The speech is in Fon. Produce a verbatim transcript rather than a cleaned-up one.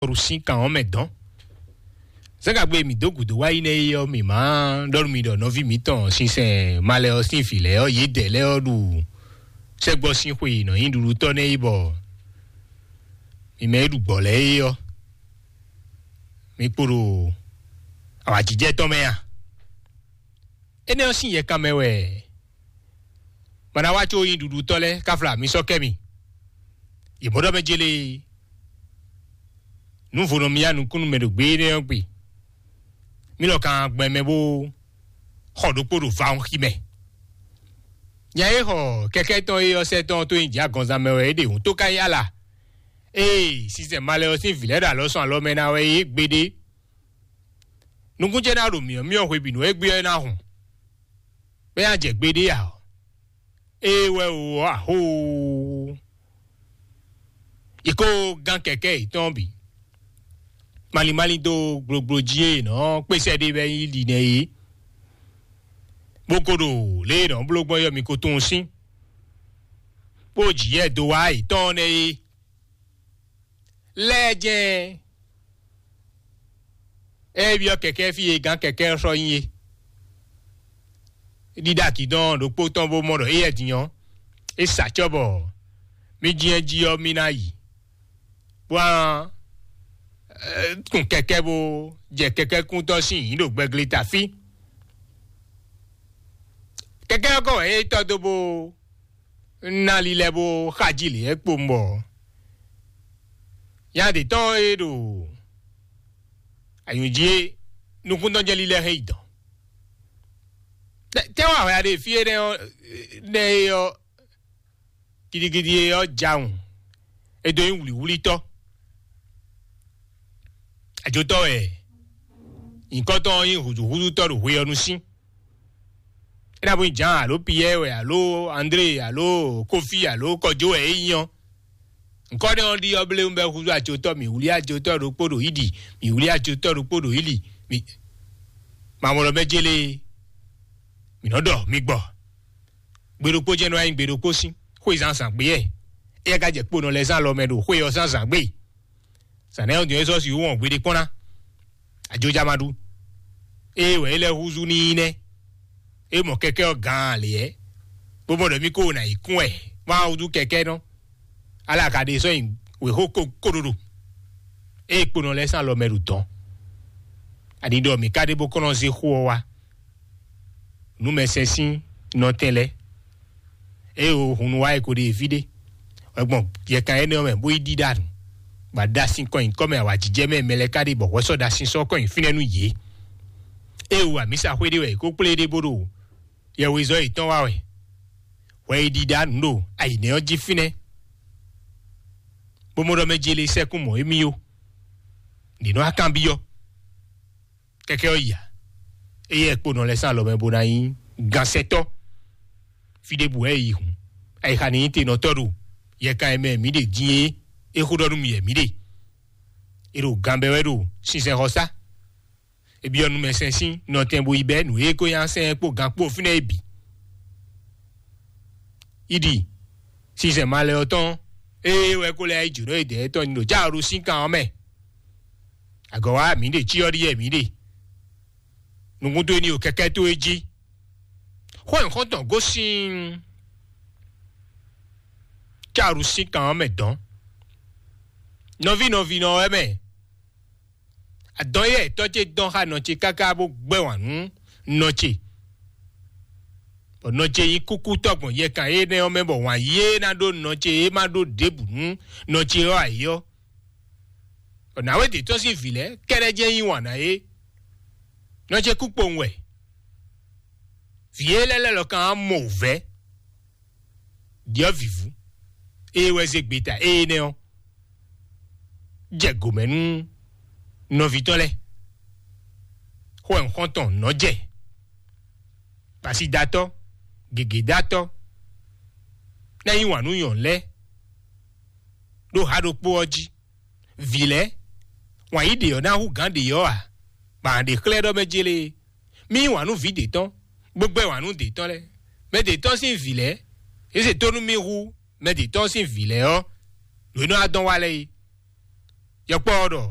ɖu sín kan ɔ́ mɛ dɔn. Zɛ́ngagbe mǐ dó gǔdo wá yi nɛ́ é ɔ́, mǐ má ɖɔ nú mi ɖɔ nɔví mǐtɔn sinsɛn malɛ ɔ́ sín vǐ lɛ́ɛ ɔ́, yědɛɛ lɛ́ɛ ɔ́ ɖu sɛ́gbɔ sín xwe nɔ nyí ɖuɖutɔ́ nɛ́ é bɔ mi mɛ e ɖu gbɔ̌ lɛ́ɛ é ɔ́, mi kpo ɖo awǎjijɛ tɔn mɛ a? Énɛ́ ɔ́ sín yɛkan mɛ wɛ ma ná wá có nyí ɖuɖutɔ́ lɛ́ɛ ká fla mi sɔ́ kɛ mi. Yě mɔ ɖɔ mɛ jélé nǔ vo nɔ mì yá nukúnnú mɛ ɖo gbé énɛ́ ɔ́ gbe. Mí lɔ kan gbɛn mɛ bó xɔ ɖokpó ɖo vawunxi mɛ. Nya e xɔ kɛkɛ́ tɔn é ɔ́ sɛ́ tɔn tó nyi jǐ agɔnzan mɛ wɛ é ɖe hǔn tó ká nyí ala. Ée sinsɛn malɛ ɔ́ sín vǐ lɛ́ɛ ɖo alɔ sɔn alɔ mɛ ná wɛ é gbeɖé. Nukún ce ná ɖo myɔ̌myɔ́ hwebǐnu égbé ɔ́ ná hun, bɔ é ná jɛ gbeɖé ǎ ɔ́, é wɛ o ɔ́ ahóoo. Yě kó gán kɛkɛ́ yětɔn bǐ. Malín malín dó gblogblo jí e nɔ kpésɛ ɖé bɛ nyí ɖi nɛ é, bó ko ɖo lě e nɔ bló gbɔn yɔ mi ko tunwun sín, bó jǐ yɛ dó wá yětɔn nɛ é. Lɛ́ɛ jɛ́n ɛ byɔ́ kɛkɛ́ fí e gǎn kɛkɛ́ ɔ́ sɔ́ nyí é. Ɖíɖá kǐdɔn ɖokpó tɔn bó mɔ ɖɔ éyɛ́ din ɔ́, é sa acɔ́ bɔ mí jínjɔ́n jí ɔ́ mí ná yi, bó ná kun kɛkɛ́ bó jɛ kɛkɛ́kúntɔ́ sín nyǐ ɖo gbɛgleta fí. Kɛkɛ́ ɔ́ kɔ wɛ é tɔ́ dó bó ná lílɛ́ bó xají lě é kpowun bɔ nya ɖě tɔn e ɖo anyǔjí é nukúntɔ́ jɛ́n lílɛ́ hɛn yi dɔ̌n. Tɛ́ wá hwɛ ɖe fí énɛ́ ɔ́ nɛ́ é ɔ́, gidigidi é ɔ́ jawun é dó nyí wlǐwlítɔ́. Ajotɔ́ wɛ nyǐkɔ tɔn ɔ́ nyí hǔzúhúzútɔ́ ɖo hwe ɔ́ nu sín. É ná bó nyí Jǎan alo Piyɛ́ɛ wɛ alo André alo Kófí alo Kɔjó wɛ é nyí ɔ́, nǔkɔ́ nɛ́ ɔ́ ɖi ɔ́ bléwún bɔ é húzú ajotɔ́, mǐ wlí ajotɔ́ ɖokpó ɖo Ídi, mǐ wlí ajotɔ́ ɖokpó ɖo Íli, mǐ mamɔlɔ mɛ jélé mǐ nɔ ɖɔ mi gbɔ. Gbe ɖokpó jɛ́n nɔ wá nyí gbe ɖokpó sín xwé zǎnzǎn gbé yɛ. Éyɛ́ ka jɛ kponɔ lɛ́ɛ zán alɔ mɛ ɖo xwé ɔ́ zǎnzǎn gbé. Zǎn nɛ́ ɔ́ din é sɔ́ sixú wɔn gbeɖé kpɔ́n ná. Ajoja ma ɖu. Ée wɛ é lɛ́ húzú n'i nɛ́. É mɔ kɛkɛ́ ɔ́ gǎn lě ɛ, bó mɔ ɖɔ mí kó ná yi kún wɛ, má wá húzú kɛkɛ́ nɔ. Ala ka ɖe sɔ́ nyi wěxó ko kóɖoɖo. Ée kponɔ lɛ́ɛ sín alɔ mɛ ɖo dɔ̌n. Ani ɖɔ mǐ ka ɖe bó kɔn nɔ zé xó ɔ́ wá. Nǔmɛsɛn sín nɔtɛn lɛ́ɛ. Ée o hun nu wá e ko ɖe fí ɖé, wɛ gbɔn yɛkan énɛ́ ɔ́ mɛ bó yi ɖíɖá nǔ, bɔ a ɖa sin kɔ nyi kɔ́ mɛ awǎjijɛ mɛ mɛ lɛ́ɛ ka ɖe bɔ hwɛ sɔ́ ɖa sin sɔ́ kɔ nyi fínɛ́ nú yě. Ée o amǐsaxwé ɖé wɛ è ko kplé ɖé bó ɖo yɛhwezɔ́ yětɔn wá wɛ, hwɛ yi ɖíɖá nǔ ɖo ayǐnɛ́ ɔ́ jí fínɛ́, bó mɔ ɖɔ mɛ jele sɛ́kún mɔ̌ émí ó. Nǐ nɔ akanbyɔ́. Kɛkɛ ɔ́ ya, eye kponɔ lɛ́ɛ sín alɔ mɛ bó ná nyí gansɛtɔ́. Fí ɖěbǔ wɛ è yi hǔn, ayixa ní nyí tenɔtɔ́ ɖo yɛkan e mɛ mǐ ɖe din é. É xó ɖɔ nú mì wɛ mǐ ɖe. È ɖo gan bɛ́ wɛ ɖo sinsɛnxɔsá. È byɔ́ nú mɛ sɛn sín nɔtɛn bó yi bɛ́ nǔ e ko nyí asɛn kpó gan kpó fínɛ́ é bǐ. Íɖi sinsɛn malɛ ɔ́ tɔn, ée wɛ kó lɛ́ yi jǒnɔ e dɛ̌ tɔn nyi ɖo jǎ ɖo sín kan ɔ́ mɛ. Agɔ̌ wá mǐ ɖe cyɔ ɖíyɛ mǐ ɖe. Nukúnto e ní ɖo kɛkɛ́ towe jí. Xó nyǐxɔ́ntɔn gosín cáru sín kan ɔ́ mɛ dɔ̌n. Nɔví nɔví nɔ wɛ mɛ. Adɔn yɛ tɔ́ ce dɔn xá nɔ ce káká bó gbɛ́ wǎn nú nɔ ce. Bɔ nɔ ce nyí kúkú tɔ́ gbɔn yɛkan énɛ́ ɔ́ mɛ, bɔ wǎn yí e ná ɖó nɔ ce e má ɖó ɖěbǔ nú nɔ ce ɔ́ ayǐ ɔ́. Bɔ nǎwe ɖě tɔ́ sín vǐ lɛ́ɛ kɛ́ɖɛ́ jɛ́n yí wǎn ná é. Nɔ ce kú kpowun wɛ. Vǐ e lɛ́ lɛ́ lɔ kan á mɔ wǔvɛ́. Ɖiɔ́ vǐvú. Ée wɛ zé gbeta énɛ́ ɔ́ jɛ gǒmɛ nú nɔví tɔn lɛ́ɛ. Xó wɛ nǔxɔ́ntɔn nɔ́ jɛ. Pasidatɔ́, gěgédatɔ́, ná yí wǎn nú nyɔ̌nu lɛ́ɛ ɖó ha ɖokpó ɔ́ jí. Vǐ lɛ́ɛ, wǎn yí ɖě ɔ́ ná hú gǎn ɖě ɔ́ ǎ, bɔ a nǎ ɖe xlɛ́ ɖɔ mɛ jélé. Mí yí wǎn nú vǐ ɖě tɔn, bó gbɛ́ wǎn nú ɖě tɔn lɛ́ɛ. Mɛ ɖě tɔn sín vǐ lɛ́ɛ, é se tónú mì hú mɛ ɖě tɔn sín vǐ lɛ́ɛ ɔ́, lǒ é nɔ wá dɔn wá lɛ́ɛ é. Yɔkpɔ́ ɔ́ ɖɔ